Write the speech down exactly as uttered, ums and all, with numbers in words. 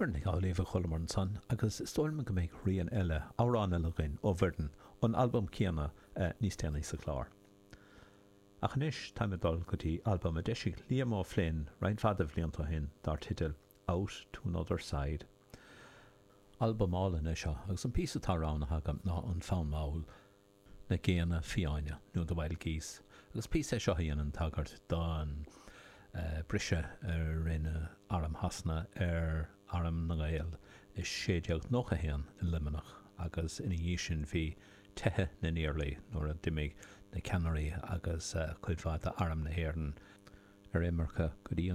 Muireann Nic Amhlaoibh a chualamar ansan agus is dóigh liom go mbeidh rian eile, amhrán eile againn ó Mhuireann ón albam céanna níos déanaí sa chlár. Ach anois táim ag dul go dtí albam a d'eisigh Liam O'Flynn roinnt mhaith de bhlianta ó shin dar teideal Out to Another Side. Albam álainn é seo agus an píosa atá roghnaithe agam ná an fonn mall Na Géanna Fiáine nó The Wild Geese agus píosa é seo a dhéanann tagairt don briseadh a rinne Arm Shasana ar Arm na nGael i sé déag nócha a haon i Luimneach agus ina dhiaidh sin bhí Teitheadh na nIarlaí nuair a d'imigh na ceannairí agus cuid mhaith d'Arm na hÉireann ar imirce go dtí an